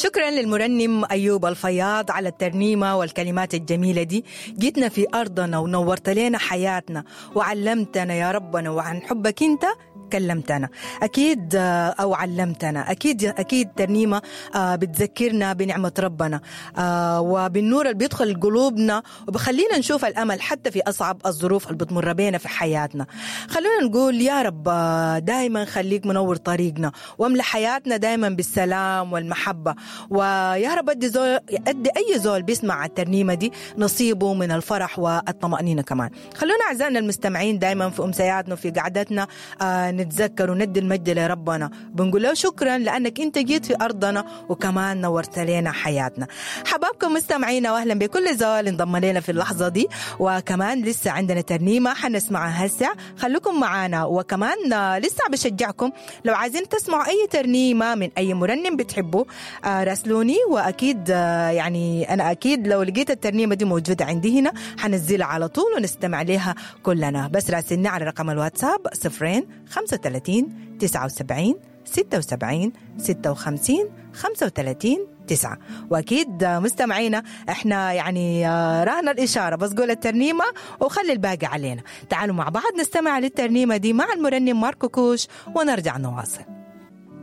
شكرا للمرنم أيوب الفياض على الترنيمة والكلمات الجميلة دي. جيتنا في أرضنا ونورت لنا حياتنا وعلمتنا يا ربنا، وعن حبك أنت كلمتنا أكيد، أو علمتنا أكيد. أكيد ترنيمة بتذكرنا بنعمة ربنا وبالنور اللي بيدخل قلوبنا وبخلينا نشوف الأمل حتى في أصعب الظروف اللي بتمر بينا في حياتنا. خلونا نقول يا رب دايما خليك منور طريقنا واملى حياتنا دايما بالسلام والمحبة، ويا رب أدي أي زول بيسمع الترنيمة دي نصيبه من الفرح والطمأنينة كمان. خلونا أعزائنا المستمعين دايما في أمسياتنا وفي قعدتنا نتذكر وندي المجد لربنا، بنقول له شكرا لأنك أنت جيت في أرضنا وكمان نورت لنا حياتنا. حبابكم مستمعينا وأهلا بكل زول انضم لنا في اللحظة دي، وكمان لسه عندنا ترنيمة حنسمعها هسه، خليكم معانا. وكمان لسه بشجعكم لو عايزين تسمعوا أي ترنيمة من أي مرنم بتحبوا راسلوني، وأكيد يعني أنا أكيد لو لقيت الترنيمة دي موجودة عندي هنا حنزلها على طول ونستمع لها كلنا. بس راسلني على رقم الواتساب 0 35 79 76 56 35 9. وأكيد مستمعينا احنا يعني رهنا الإشارة، بس قول الترنيمة وخلي الباقي علينا. تعالوا مع بعض نستمع للترنيمة دي مع المرنم ماركو كوش ونرجع نواصل.